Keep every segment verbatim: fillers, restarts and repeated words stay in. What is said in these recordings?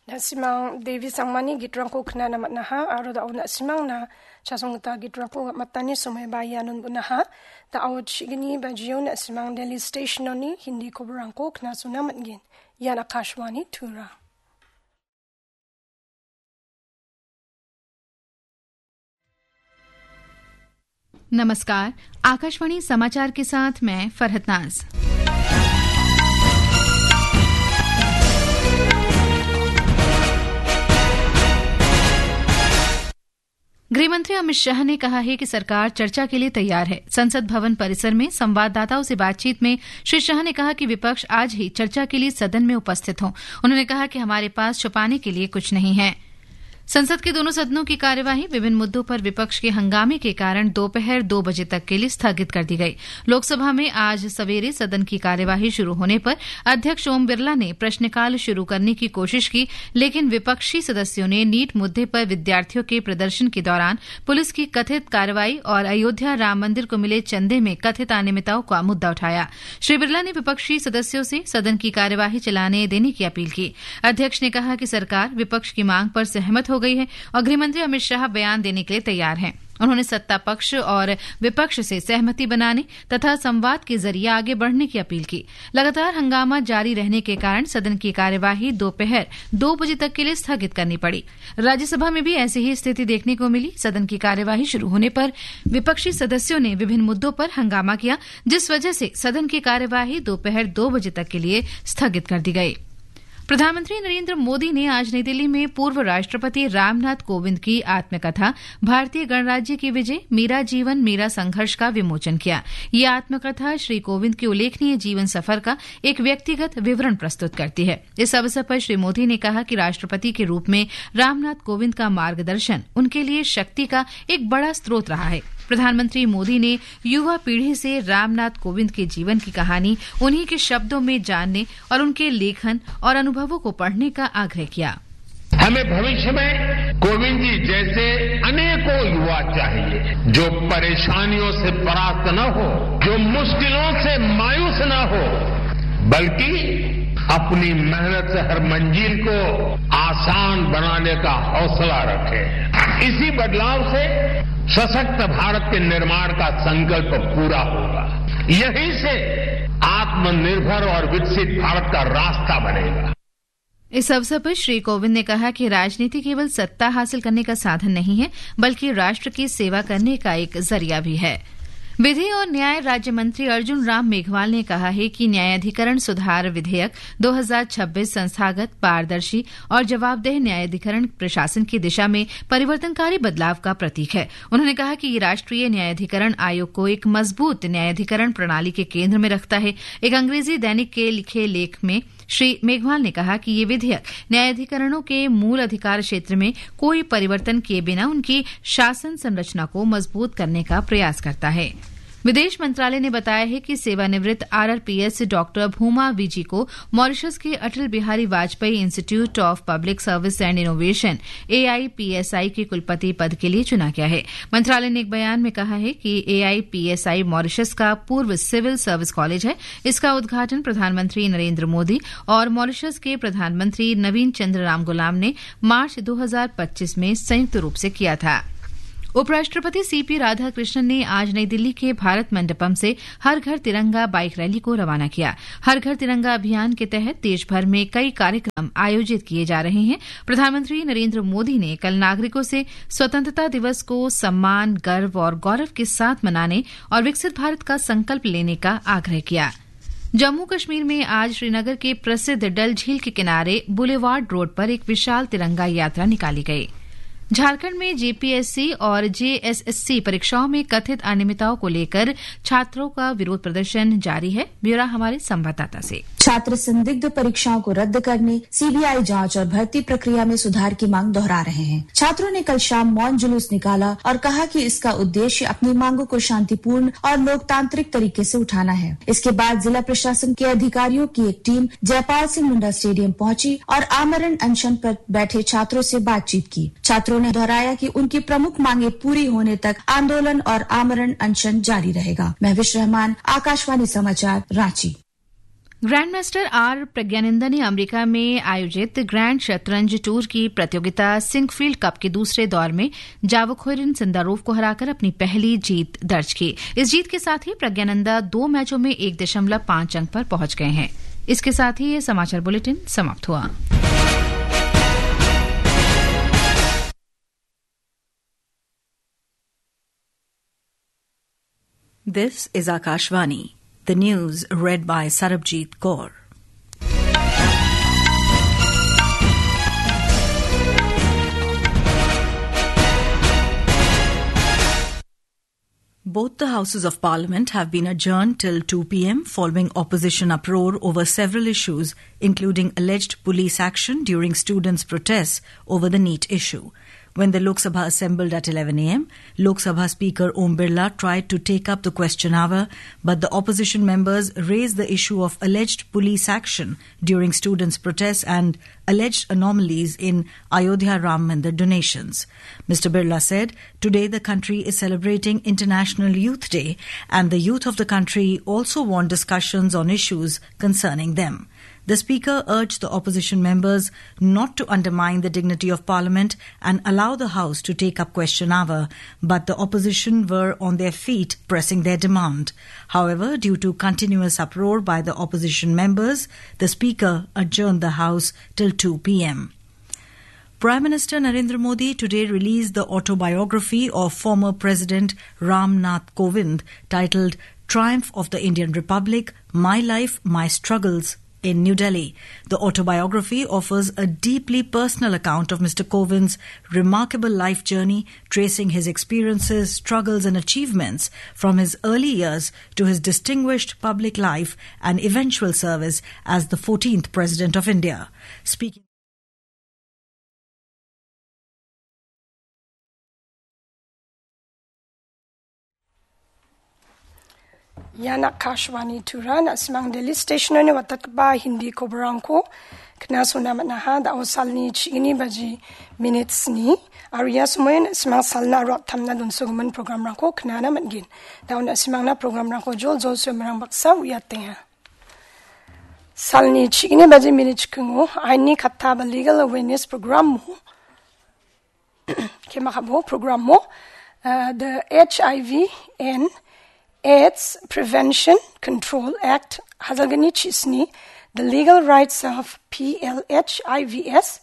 Na·simang Devi Sangmani gitrangko knana man·aha aro da·o na·simangna chasonggita gitrangko matani somoiba ianon bon·aha. Da·o chigni bajio na·simang Delhi Station-oni Hindi koborangko knasona man·gen. Ian Akashvani Tura. नमस्कार, आकाशवाणी समाचार के साथ मैं फरहत नाज। गृह मंत्री अमित शाह ने कहा है कि सरकार चर्चा के लिए तैयार है। संसद भवन परिसर में संवाददाताओं से बातचीत में श्री शाह ने कहा कि विपक्ष आज ही चर्चा के लिए सदन में उपस्थित हों। उन्होंने कहा कि हमारे पास छुपाने के लिए कुछ नहीं है। संसद के दोनों सदनों की कार्यवाही विभिन्न मुद्दों पर विपक्ष के हंगामे के कारण दोपहर दो बजे तक के लिए स्थगित कर दी गई। लोकसभा में आज सवेरे सदन की कार्यवाही शुरू होने पर अध्यक्ष ओम बिरला ने प्रश्नकाल शुरू करने की कोशिश की, लेकिन विपक्षी सदस्यों ने नीट मुद्दे पर विद्यार्थियों के प्रदर्शन के दौरान पुलिस की कथित कार्रवाई और अयोध्या राम मंदिर को मिले चंदे में कथित अनियमितताओं का मुद्दा उठाया। श्री बिरला ने विपक्षी सदस्यों से सदन की कार्यवाही चलाने देने की अपील की। अध्यक्ष ने कहा कि सरकार विपक्ष की मांग पर सहमत हो गई है और गृह मंत्री अमित शाह बयान देने के लिए तैयार हैं। उन्होंने सत्ता पक्ष और विपक्ष से सहमति बनाने तथा संवाद के जरिए आगे बढ़ने की अपील की। लगातार हंगामा जारी रहने के कारण सदन की कार्यवाही दोपहर दो बजे तक के लिए स्थगित करनी पड़ी। राज्यसभा में भी ऐसी ही स्थिति देखने को मिली। सदन की कार्यवाही शुरू होने पर विपक्षी सदस्यों ने विभिन्न मुद्दों पर हंगामा किया, जिस वजह से सदन की कार्यवाही दोपहर दो बजे तक के लिए स्थगित कर दी गई। प्रधानमंत्री नरेंद्र मोदी ने आज नई दिल्ली में पूर्व राष्ट्रपति रामनाथ कोविंद की आत्मकथा भारतीय गणराज्य की विजय, मेरा जीवन, मेरा संघर्ष का विमोचन किया। ये आत्मकथा श्री कोविंद के उल्लेखनीय जीवन सफर का एक व्यक्तिगत विवरण प्रस्तुत करती है। इस अवसर पर श्री मोदी ने कहा कि राष्ट्रपति के रूप में रामनाथ कोविंद का मार्गदर्शन उनके लिए शक्ति का एक बड़ा स्रोत रहा है। प्रधानमंत्री मोदी ने युवा पीढ़ी से रामनाथ कोविंद के जीवन की कहानी उन्हीं के शब्दों में जानने और उनके लेखन और अनुभवों को पढ़ने का आग्रह किया। हमें भविष्य में कोविंद जी जैसे अनेकों युवा चाहिए, जो परेशानियों से परास्त न हो, जो मुश्किलों से मायूस न हो, बल्कि अपनी मेहनत से हर मंजिल को आसान बनाने का हौसला रखे। इसी बदलाव से सशक्त भारत के निर्माण का संकल्प पूरा होगा। यहीं से आत्मनिर्भर और विकसित भारत का रास्ता बनेगा। इस अवसर पर श्री कोविंद ने कहा कि राजनीति केवल सत्ता हासिल करने का साधन नहीं है, बल्कि राष्ट्र की सेवा करने का एक जरिया भी है। विधि और न्याय राज्य मंत्री अर्जुन राम मेघवाल ने कहा है कि न्यायाधिकरण सुधार विधेयक दो हज़ार छब्बीस संस्थागत, पारदर्शी और जवाबदेह न्यायाधिकरण प्रशासन की दिशा में परिवर्तनकारी बदलाव का प्रतीक है। उन्होंने कहा कि ये राष्ट्रीय न्यायाधिकरण आयोग को एक मजबूत न्यायाधिकरण प्रणाली के केंद्र में रखता है। एक अंग्रेजी दैनिक के लिखे लेख में श्री मेघवाल ने कहा कि ये विधेयक न्यायाधिकरणों के मूल अधिकार क्षेत्र में कोई परिवर्तन किए बिना उनकी शासन संरचना को मजबूत करने का प्रयास करता है। विदेश मंत्रालय ने बताया है कि सेवानिवृत्त आरआरपीएस डॉक्टर भूमा विजी को मॉरिशस के Atal Bihari Vajpayee Institute of Public Service and Innovation, AIPSI, के कुलपति पद के लिए चुना गया है। मंत्रालय ने एक बयान में कहा है कि एआईपीएसआई मॉरिशस का पूर्व सिविल सर्विस कॉलेज है। इसका उद्घाटन प्रधानमंत्री नरेंद्र मोदी और मॉरिशस के प्रधानमंत्री नवीन चंद्र रामगुलाम ने मार्च दो हज़ार पच्चीस में संयुक्त रूप से किया था। उपराष्ट्रपति सीपी राधाकृष्णन ने आज नई दिल्ली के भारत मंडपम से हर घर तिरंगा बाइक रैली को रवाना किया। हर घर तिरंगा अभियान के तहत देश भर में कई कार्यक्रम आयोजित किए जा रहे हैं। प्रधानमंत्री नरेंद्र मोदी ने कल नागरिकों से स्वतंत्रता दिवस को सम्मान, गर्व और गौरव के साथ मनाने और विकसित भारत का संकल्प लेने का आग्रह किया। जम्मू कश्मीर में आज श्रीनगर के प्रसिद्ध डल झील के किनारे बुलेवार्ड रोड पर एक विशाल तिरंगा यात्रा निकाली गई। झारखंड में जेपीएससी और जेएसएससी परीक्षाओं में कथित अनियमितताओं को लेकर छात्रों का विरोध प्रदर्शन जारी है। ब्यौरा हमारे संवाददाता से। छात्र संदिग्ध परीक्षाओं को रद्द करने, सीबीआई जांच और भर्ती प्रक्रिया में सुधार की मांग दोहरा रहे हैं। छात्रों ने कल शाम मौन जुलूस निकाला और कहा कि इसका उद्देश्य अपनी मांगों को शांतिपूर्ण और लोकतांत्रिक तरीके से उठाना है। इसके बाद जिला प्रशासन के अधिकारियों की एक टीम जयपाल सिंह मुंडा स्टेडियम पहुंची और आमरण अनशन पर बैठे छात्रों से बातचीत की। छात्रों ने दोहराया कि उनकी प्रमुख मांगें पूरी होने तक आंदोलन और आमरण अनशन जारी रहेगा। महविश रहमान, आकाशवाणी समाचार, रांची। ग्रैंडमास्टर आर प्रज्ञानंदा ने अमेरिका में आयोजित ग्रैंड शतरंज टूर की प्रतियोगिता सिंकफील्ड कप के दूसरे दौर में जावोखोरिन सिंदारोव को हराकर अपनी पहली जीत दर्ज की। इस जीत के साथ ही प्रज्ञानंदा दो मैचों में एक दशमलव पाँच अंक पर पहुंच गए हैं। इसके साथ ही ये समाचार बुलेटिन समाप्त हुआ। This is Akashvani. The news read by Sarabjit Kaur. Both the houses of parliament have been adjourned till two p.m. following opposition uproar over several issues, including alleged police action during students' protests over the NEET issue. When the Lok Sabha assembled at eleven a.m., Lok Sabha Speaker Om Birla tried to take up the question hour, but the opposition members raised the issue of alleged police action during students' protests and alleged anomalies in Ayodhya Ram Mandir donations. Mister Birla said, "Today the country is celebrating International Youth Day, and the youth of the country also want discussions on issues concerning them." The speaker urged the opposition members not to undermine the dignity of parliament and allow the house to take up question hour, but the opposition were on their feet pressing their demand. However, due to continuous uproar by the opposition members, the speaker adjourned the house till two p.m. Prime Minister Narendra Modi today released the autobiography of former President Ram Nath Kovind, titled Triumph of the Indian Republic: My Life, My Struggles, in New Delhi. The autobiography offers a deeply personal account of Mister Kovind's remarkable life journey, tracing his experiences, struggles, and achievements from his early years to his distinguished public life and eventual service as the fourteenth President of India. Speaking Ian Akashvani Tura, na·simang Delhi station-oni watatgipa Hindi koborangko knasona man·aha. Da·o salni chigni baji minit sni, aro ia somoio na·simang salna aro attamna donsogimin programrangko knana man·gen. Da·o na·simangna programrangko joljol soimarang baksa uiatenga. Salni chigni baji minit chikingo ainni katta ba legal awareness program mo, kemakabo program mo, uh, the H I V and AIDS Prevention Control Act, hajalgni chisni, the legal rights of P L H I Vs,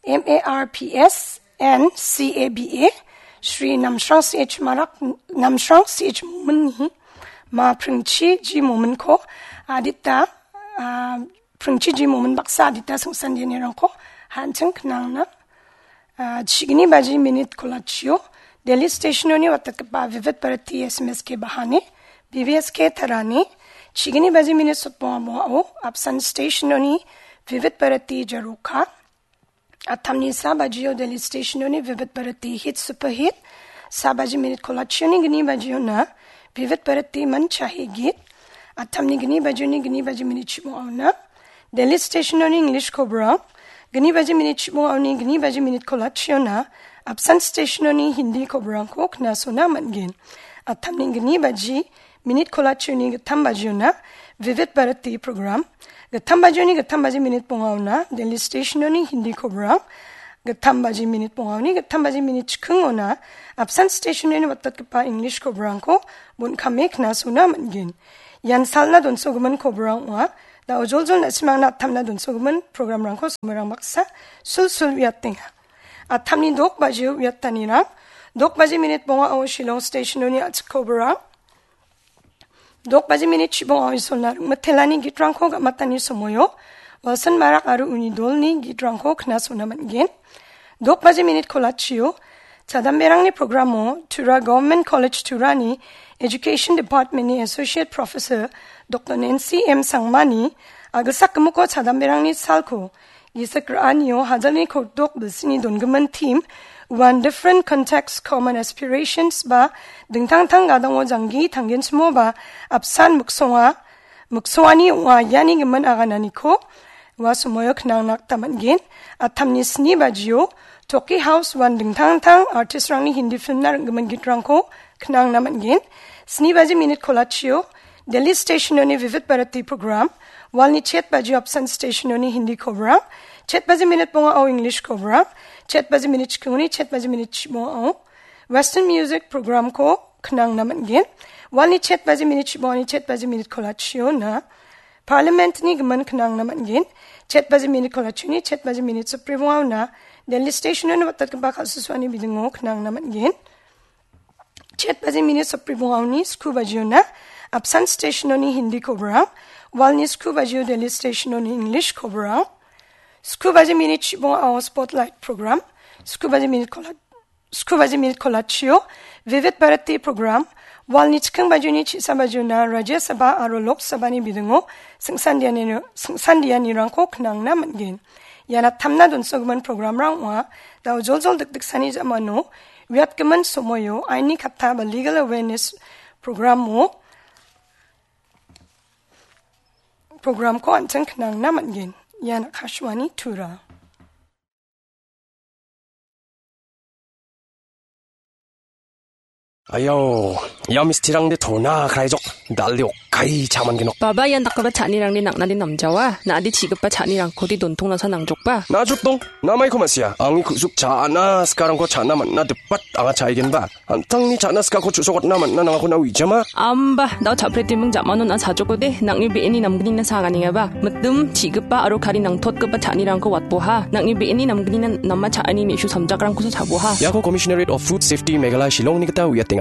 M A R Ps and C A B A, Shri Namsrang C H Marak, Namsrang C H Momin-ni ma pringchi ji mominko adita, ah, pringchi ji momin baksa adita singsan dienirangko hanching knangna, ah, chigni baji minit kolachio, Delhi station-oni watatgipa Vivid Bharati S M S K bahani, B B S K tarani, chigni baji minit sotbonga boao, apsan station-oni Vivid Bharati jaroka, Attamni sa bajio Delhi station-oni Vivid Bharati hit super hit. Sa baji minit kolachioni gni bajiona Vivid Bharati man chahi git. Attamni gni bajioni gni baji minit chibongaona Delhi station-oni English kobrang. Gni baji minit chibongaoni gni baji minit kolachiona apsan station-oni Hindi kobrangko knasona man·gen. Attamni gni baji minit kolachioni gittam bajiona Vivid Bharati program. Gittam bajioni gittam baji minit bongaona Delhi station-oni Hindi kobrang. Gittam baji minit bongaoni gittam baji minit chikingona apsan station-oni watatgipa English kobrangko bon·kame knasona man·gen. Ian salna donsogimin kobrang ong·a. Da·o joljol na·simangna attamna donsogimin programrangko somirang baksa sulsul uiatenga. Attamni dok bajio uiatanirang, dok baji minit bongao Shillong station-oni a·chik kobrang. Dok baji minit chibonga oisolna ringmitelani gitrangko gamatani somoio Wilson Marak aro uni dolni gitrangko knasona man·gen. Dok baji minit kolachio, chadamberangni programo Tura Government College Turani Education Department-ni Associate Professor Doctor Nancy M Sangmani agilsak gimiko chadamberangni salko gisik ra·anio hajalni kotdok bilsini dongimin theme, One Different Context, Common Aspirations ba dingtang tang gadongo janggi tanggenchimo ba apsan miksonga, miksongani ong·a iani gimin agananiko ua somoio knangna gita man·gen. Attamni sni bajio Toki House uan dingtang tang artistrangni Hindi filmna ring·gimin gitrangko knangna man·gen. Sni baji minit kolachio Delhi station-oni Vivid Bharati program, Walni chet bajio apsan stationoni Hindi kobrang, chet baji minit bongao English kobrang, chet baji minit chikingoni chet baji minit chibongao Western music programko knangna man·gen. Walni chet baji minit chibongani chet baji minit kolachiona Parliamentni gimin knangna man·gen. Chet baji minit kolachioni chet baji minit sotbri bongaona Delhi stationoni watatgipa kal·susuani bidingo knangna man·gen. Chet baji minit sotbri bongaoni sku bajiona apsan stationoni Hindi kobrang, walni sku bajio Delhi stationoni English kobrang, sku baji minit chibongao Spotlight program, sku baji minit kola-, sku baji minit kolachio Vivid Bharati program, walni chiking bajioni chisa bajiona Rajya Sabha aro Lok Sabhani bidingo singsandiani-, singsandianirangko knangna man·gen. Iana tamna donsogimin programrang ong·a. Dao joljol dikdiksani jamano uiatgimin somoio aini katta ba legal awareness programo, programko an·ching knangna man·gen. Ian Akashvani Tura. Ayau, ia mistirangde tona kraijok, dal·de okkai cha·mangenok. Baba, ian dakgipa cha·anirangde nang·nade namjawa, na·ade chi·gipa cha·nirangkode dontongnasa nangjokba. Na·jokdong, namaiko ma·sia, angni ku·suk cha·na sikarangko cha·na man·na dipat anga cha·aigenba. An·tangni cha·na sikako chu·sokatna man·na nangako na uijama. Amba, dao cha·pretiming ja·mano na·a chajokode, nang·ni be·eni namgnina sa ganengaba. Mitim, chi·gipa aro kari nangtotgipa cha·anirangko watboha. Nang·ni be·eni namgnina nama cha·ani me·su samjakrangkosa chaboha. Iako Commissionerate of Food Safety Meghalaya Shillongni gita uiatenga.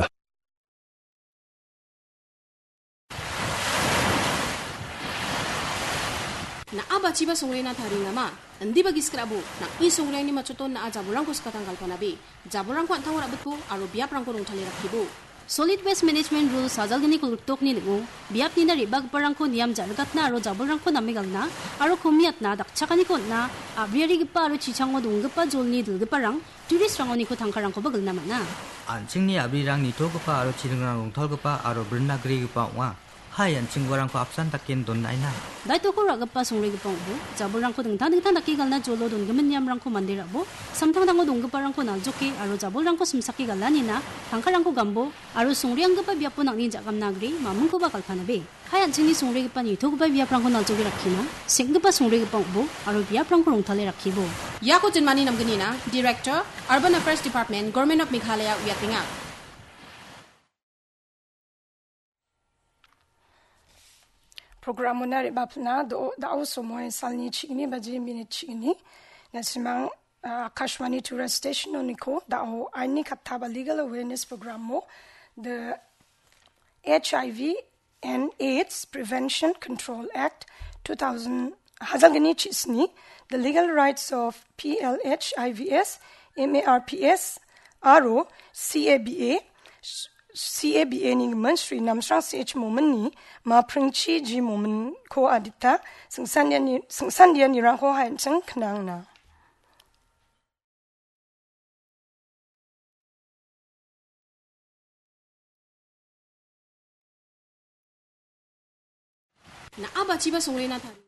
Na·a bachiba songrena taringama? Indiba gisik ra·bo, nang·ni songreni machoton na·a jabolrangko skatang galpanabe. Jabolrangko an·tango ra·bitbo aro biaprangko rongtale rakkibo. Solid Waste Management Rules sajalgni kolgriktokni ning·o, biapnina re·bagiparangko niam ja·rigatna aro jabolrangko name galna aro komiatna dakchakaniko on·a, a·briarigipa aro chichango donggipa jolni dilgiparang, tourist-rangoniko tangkarangkoba gilna man·a. An·chingni a·brirang nitogipa aro chiringrang rongtalgipa aro brinna grigipa ong·a. Hai an·ching uarangko apsan daken donaina. Daitoko ra·gipa songregipa ong·bo, jabolrangko dingtang dingtang dake galna jolo dongimin niamrangko mande ra·bo, samtangtango donggiparangko naljoke aro jabolrangko simsake galanina, tangkarangko gambo, aro songreanggipa biapo nang·ni ja·gamna agre, mamingkoba galpanabe. Hai an·chingni songregipa nitogipa biaprangko naljoke rakkina, seng·gipa songregipa ong·bo, aro biaprangko rongtale rakkibo. Iako jinmani namgnina, Director, Urban Affairs Department, Government of Meghalaya uiatenga. Programona re·bapilna do-, da·o somoi salni chigni baji minit chigni. Nasimang, ah, Akashvani Tura Station oniko da·o aini katta ba legal awareness programo the H I V and AIDS Prevention Control Act two thousand, hajalgni chisni, The Legal Rights of P L H I V S, M A R P S, aro C A B A, C A B A ni gimin Shri Namsrang C H Mominni ma Pringchi G Mominko adita singsandiani-, singsandianirangko hainching knangna. Na·a bachiba songrena tari.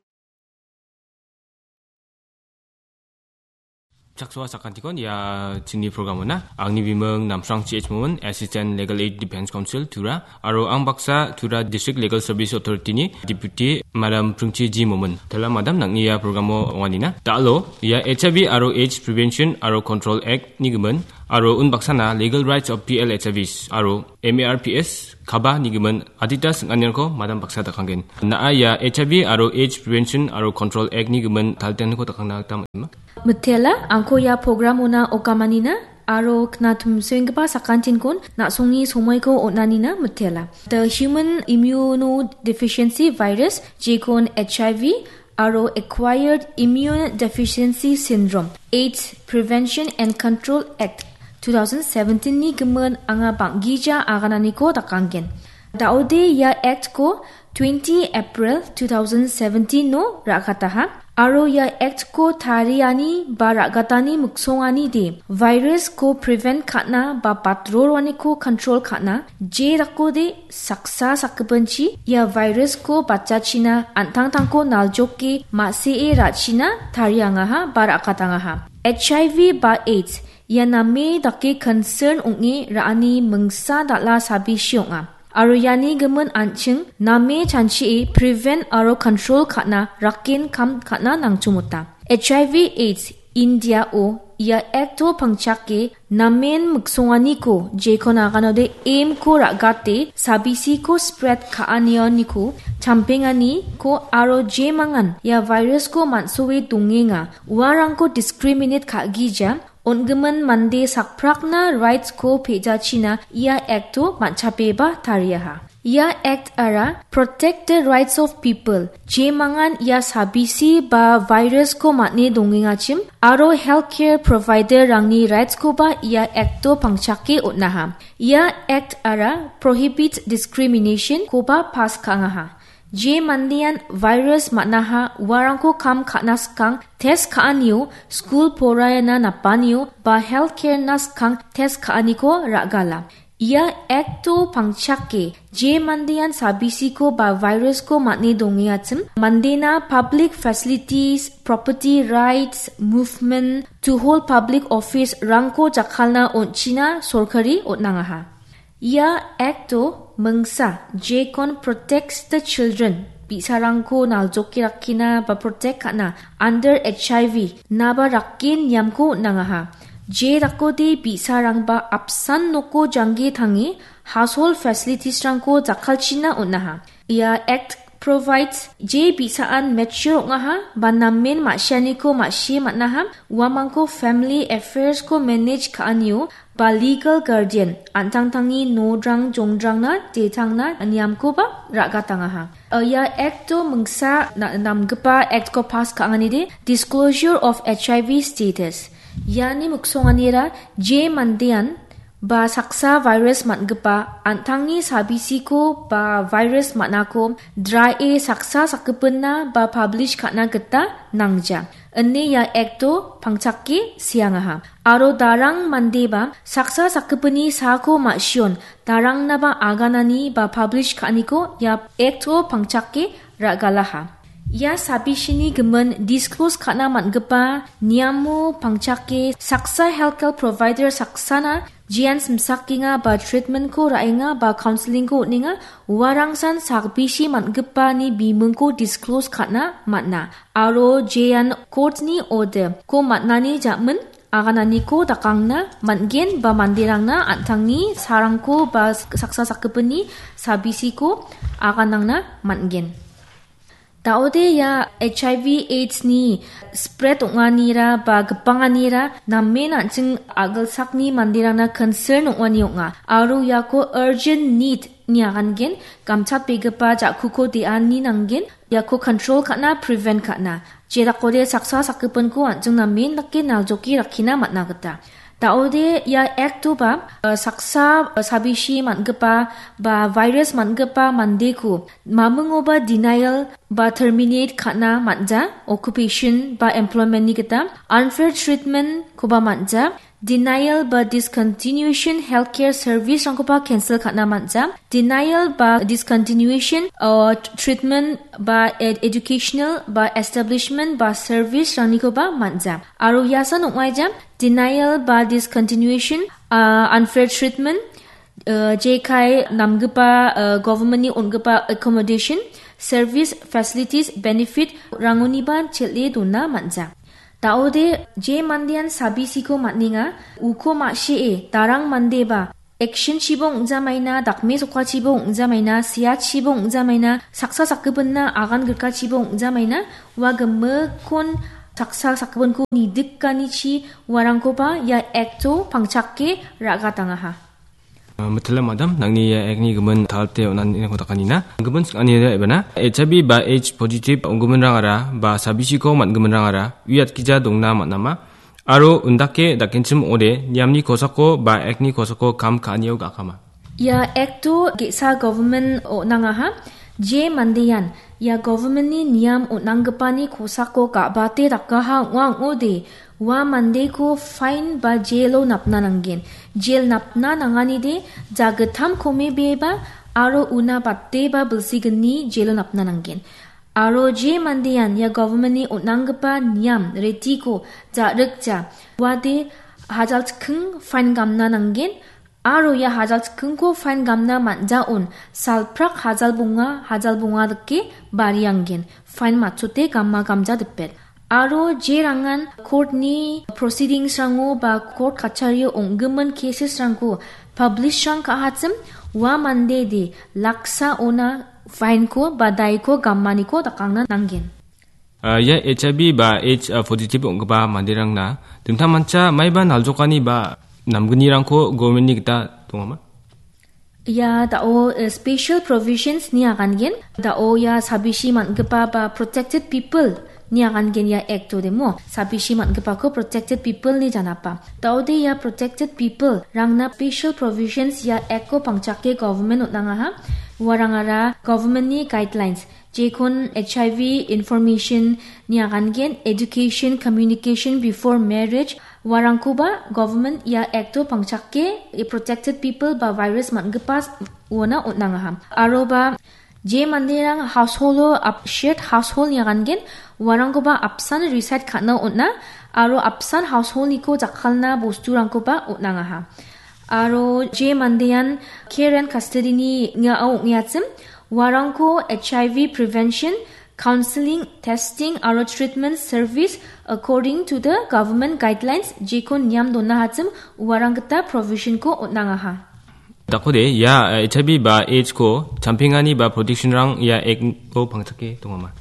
Chaksoa sakantikon ia chingni programona. Angni biming Namsrang C H Momin, Assistant Legal Aid Defense Counsel, Tura. Aro ang baksa Tura District Legal Service Authority-ni Deputy Madam Pringchi G Momin. Tela Madam nang·ni ia programo ong·anina. Da·alo, ia H I V aro AIDS Prevention aro Control Act-ni gimin, aro unbaksana Legal Rights of P L H I Vs aro M A R P S, kaba nigimin adita sing·anirangko madam baksa dakanggen. Na·a ia H I V aro AIDS Prevention aro Control Act nigimin taltenko dakangna gita man·a. Mitela, angko ia programona okamanina aro knatumsoenggipa sakantinkon na·songni somoiko on·anina mitela. The Human Immunodeficiency Virus, jekon H I V, aro Acquired Immune Deficiency Syndrome, AIDS Prevention and Control Act two thousand seventeen-ni gimin anga bang·gija agananiko dakanggen. Da·ode ia Act-ko twenty April two thousand seventeen-o ra·gataha, aro ia Act-ko tariani ba ra·gatani miksongani de virus-ko prevent ka·na ba batroroaniko control ka·na je dakode saksa sakgipinchi ia virus-ko batjachina an·tangtangko naljoke ma·sie ra·china tariangaha ba ra·katangaha. H I V ba AIDS ia name dake concern ong·e ra·ani mingsa dal·a sabisi ong·a. Aro iani gimin an·ching name chanchie prevent aro control ka·na rakken kam ka·na nangchomota. H I V AIDS India-o ia acto pangchake namen miksonganiko jekon aganode aim-ko ra·gate sabisiko spread ka·anioniko champenganiko aro jemangan ia virus-ko man·soe dongenga uarangko discriminate ka·gija on·gimin mande sakprakna rights-ko pejachina ia acto man·chapeba tariaha. Ia act-ara protect the rights of people, jemangan ia sabisi ba virus-ko man·e dongengachim, aro healthcare provider-rangni rights-koba ia acto pangchake on·aha. Ia act-ara prohibit discrimination-koba pass ka·angaha. Je mandean virus man·aha, uarangko kam ka·na skang test ka·anio, skul poraiana napanio, ba healthcare-na skang test ka·aniko ra·gala. Ia acto pangchake je mandean sabisiko ba virus-ko man·e dongengachim, mandena public facilities, property rights, movement, to hold public office-rangko jakkalna on·china sorkari on·angaha. Ia acto mingsa, jekon protects the children, bi·sarangko naljoke rakkina ba protect ka·na under H I V naba rakken niamko on·angaha. Je dakode bi·sarangba apsan noko jangge tange household facilities-rangko jakkalchina on·aha. Ia act provides je bi·saan mature ong·aha ba namen ma·sianiko ma·sie man·aha, uamangko family affairs-ko manage ka·anio ba legal guardian an·tangtangni nodrang jongdrangna detangna niamkoba ra·gatangaha. Ia acto mingsa na-, namgipa act-ko pass ka·anganide disclosure of H I V status. Iani miksonganira je mandean ba saksa virus man·gipa an·tangni sabisiko ba virus man·ako drae saksa sakgipinna ba publish ka·na gita nangja, ine ia acto pangchake seangaha. Aro darang mandeba saksa sakgipini saako ma·sion darangnaba aganani ba publish ka·aniko ia acto pangchake ra·galaha. Ia sabisini gimin disclose ka·na man·gipa niamo pangchake saksa healthcare provider saksana jean simsakenga ba treatment-ko ra·enga ba counseling-ko on·enga, uarangsan sakbisi man·gipani bimingko disclose ka·na man·a. Aro jean court-ni order-ko man·ani jamin agananiko dakangna man·gen ba manderangna an·tangni sarangko ba saksa sakgipini sabisiko aganangna man·gen. Daode ia H I V AIDS-ni spread ong·anira ba gipanganira namen an·ching a·gilsakni manderangna concern ong·ani ong·a. Aro iako urgent need-ni agangen gamchatbegipa ja·kuko de·ani nanggen, iako control ka·na, prevent ka·na. Jedakode saksa sakgipinko an·ching namen dake naljoke rakkina man·a gita. Daode ia acto ba, eh, saksa, eh, sabisi man·gipa ba virus man·gipa mandeko mamingoba denial ba terminate ka·na man·ja, occupation ba employment-ni gita unfair treatment-koba man·ja, denial ba discontinuation healthcare service-rangkoba cancel ka·na man·ja, denial ba discontinuation, uh, treatment ba ed-, educational ba establishment ba service-rangnikoba man·ja. Aro iasan ong·aija denial ba discontinuation, uh, unfair treatment, uh, jekai namgipa, uh, government-ni on·gipa accommodation, service, facilities, benefit-rangoniba chel·e dona man·ja. Daode je mandean sabisiko man·enga, uko ma·sie darang mandeba action-chibo ong·jamaina, dakme sokkachibo ong·jamaina, seachibo ong·jamaina, saksa sakgipinna agan grikachibo ong·jamaina, ua gimikkon saksa sakgipinko nidikanichi uarangkoba ia acto pangchake ra·gatangaha. Ah, mitila madam, nangni ia actni gimin talte on·aniko dakanina. Gimin sing·anira ebana, H I V ba AIDS positive ong·giminrangara ba sabisiko man·giminrangara uiatgija dongna man·ama. Aro undake dakenchim ong·ode niamni kosako ba actni kosako kam ka·anio ga·akama. Ia acto ge·sa government on·angaha, je mandean ia government-ni niam on·anggipani kosako ga·bate dakaha ong·a ong·ode, ua mandeko fine ba jail-o napna nanggen. Jail napna nanganide jagittam komebeba aro una bateba bilsigni jail-o napna nanggen. Aro je mandean ia government-ni on·anggipa niam retiko ja·rikja, uade hajal chikking fine gamna nanggen. Aro ia hajal chikkingko fine gamna man·jaon salprak hajal bonga, hajal bonga dake barianggen fine matchote gama gamja dipet. Aro jerangan court-ni proceedings-rango ba court kachario ong·gimin cases-rangko publish-rang ka·achim, ua mande de laksa ona fine-ko ba daiko gamaniko dakangna nanggen. Ah, ia H I V ba AIDS, ah, positive ong·gipa manderangna dingtangmancha maiba naljokani ba namgnirangko government-ni gita dongama? Ia dao, eh, special provisions ni agangen, dao ia sabishi man·gipa ba protected people ni agangen ia act-o demo, sabishi man·gipako protected people ni janapa. Daode ia protected people rangna special provisions ia act-o pangchake government on·angaha, uarangara government-ni guidelines, jekon H I V information ni agangen, education, communication before marriage, uarangkoba government ia act-o pangchake protected people ba virus man·gipa uona on·angaha. Aroba je manderang household-o ap-, shared household ni agangen, uarangkoba apsan reside ka·na on·a, aro apsan household-niko jakkalna bosturangkoba on·angaha. Aro je mandean care and custody-ni ning·ao ong·eachim, uarangko H I V prevention, counseling, testing aro treatment service according to the government guidelines jekon niam donahachim uarang gita provision-ko on·angaha. Dakode, ia, eh, H I V ba AIDS-ko champengani ba protection-rang ia act-o pangchake dongama?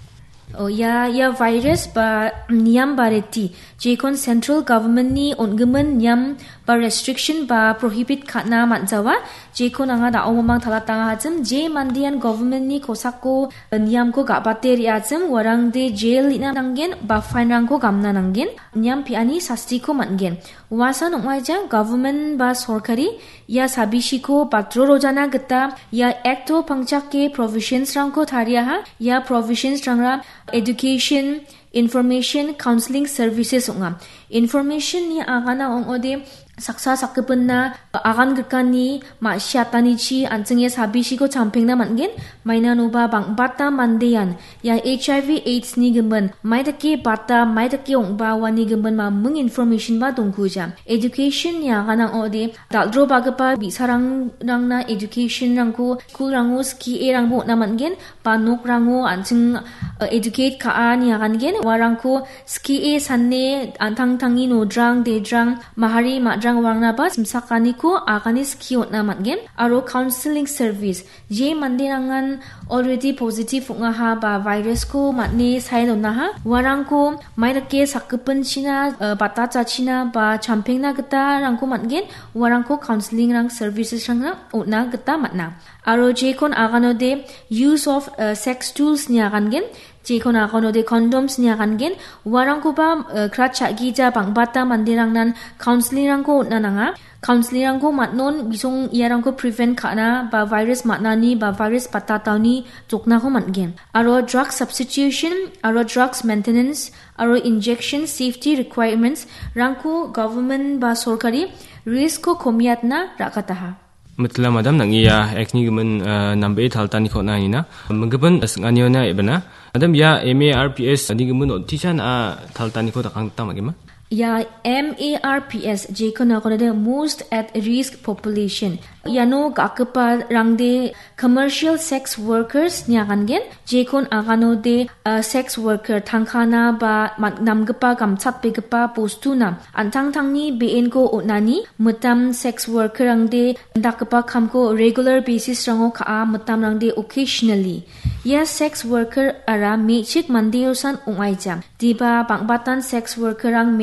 Oh, ia, ia virus ba niam ba reti, jekon central government-ni on·gimin niam ba restriction ba prohibit ka·na man·jawa, jekon anga da·o mamang talatangahachim, je mandean government-ni kosako, eh, niamko ga·bate re·achim, uarangde jail-ina nanggen, ba fine-rangko gamna nanggen, niam pe·ani sastiko man·gen. Uasan ong·aija government ba sorkari ia sabishiko batro rojana gita ia act-o pangchake provisions-rangko tariaha. Ia provisions-rangra education, information, counseling services ong·a. Information-ni agana ong·ode saksa sakgipinna agan grikani ma·siatanichi an·ching ia sabishiko champengna man·gen. Mainanoba bang·bata mandean ia H I V AIDS-ni gimin, maidake bata, maidake ong·ba uani gimin maming information-ba dongkuja. Education-ni aganang ong·ode, dal·drobagipa bi·sarangrangna education-rangko school-rango skie-rangbo on·a man·gen, ba nokrango an·ching, eh, educate ka·ani agangen, uarangko skie sane an·tangtangni nodrang, dedrang, mahari, ma·drang uarangnaba simsakaniko agane skie on·a man·gen, aro counseling service, je manderangan already positive ong·aha ba virus-ko man·e sae donaha, uarangko maidake sakgipinchina, eh, batachachina ba champengna gitarangko man·gen, uarangko counseling-rang services-rangna on·a gita man·a. Aro jekon aganode use of, eh, sex tools-ni agangen, jekon aganode condoms-ni agangen, uarangkoba, eh, krat cha·gija bang·bata manderangnan counseling-rangko on·a nanga. Counseling-rangko man·on bisong iarangko prevent ka·na ba virus man·ani ba virus batataoni joknako man·gen. Aro drug substitution, aro drugs maintenance, aro injection safety requirements-rangko government ba sorkari risk-ko komiatna ra·kataha. Mitila madam, nang·ia act-ni gimin, eh, nambe taltaniko on·a nina. Mingipin sing·aniona ebena. Madam, ia M A R P S-ni gimin on·ticha na·a taltaniko dakang gita magima? Ia M A R P S, jekon aganode most at risk population. Iano ga·gipa rangde commercial sex workers-ni agangen, jekon aganode, eh, sex worker tangkana ba man-, namgipa gamchatbegipa bostuna an·tangtangni be·enko on·ani, mitam sex worker-rangde dakgipa kamko regular basis-rango ka·a, mitamrangde occasionally. Ia sex worker-ara me·chik mandeosan ong·aija. Diba bang·batan sex worker-rang